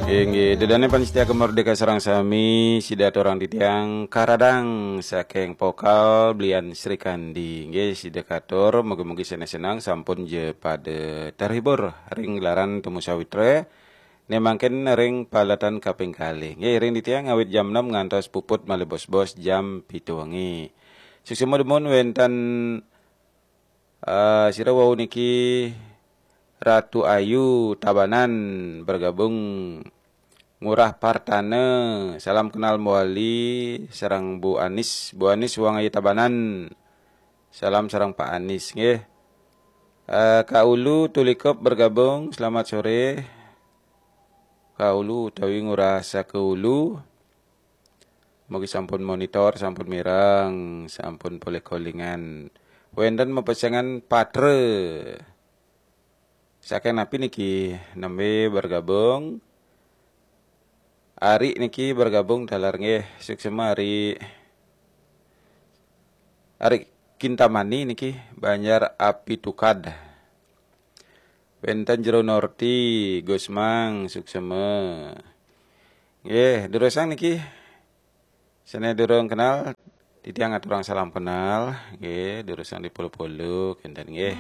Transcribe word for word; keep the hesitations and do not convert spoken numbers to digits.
Inggih, ida dané pamiarsa Gema Merdeka sareng sami, sida aturang titiang Karadang saking Pokal Blian Srikandi. Inggih, sida katur, mugi-mugi seneng-seneng sampun ja pada terhibur ring gelaran Temu Sawitra. Né mangkin ring paletan kaping kalih. Inggih, ring titiang awit jam enam ngantos puput malih bos-bos jam pitu wengi. Suksma dumun wénten, eh, sira wau niki Ratu Ayu Tabanan bergabung, Ngurah Partana, salam kenal Mbok Ali, sareng Bu Anis. Bu Anis, Wang Ayu Tabanan. Salam sareng Pak Anis nggih. Eh, Kak Ulu Tulikop bergabung, selamat sore. Kak Ulu utawi Ngurah Saka Ulu. Mugi sampun monitor, sampun mireng, sampun polih kolingan. Wénten mapesengan patra. Saking napi niki, nembé bergabung? Ari niki bergabung taler nggih. Suksma Ari. Ari Kintamani niki, Banjar Api Tukad. Wénten Jero Norti, Gusmang, suksma. Nggih, durusang niki. Sané durung kenal, titiang aturang salam kenal. Nggih, durusang dipolo-polo, kénten nggih.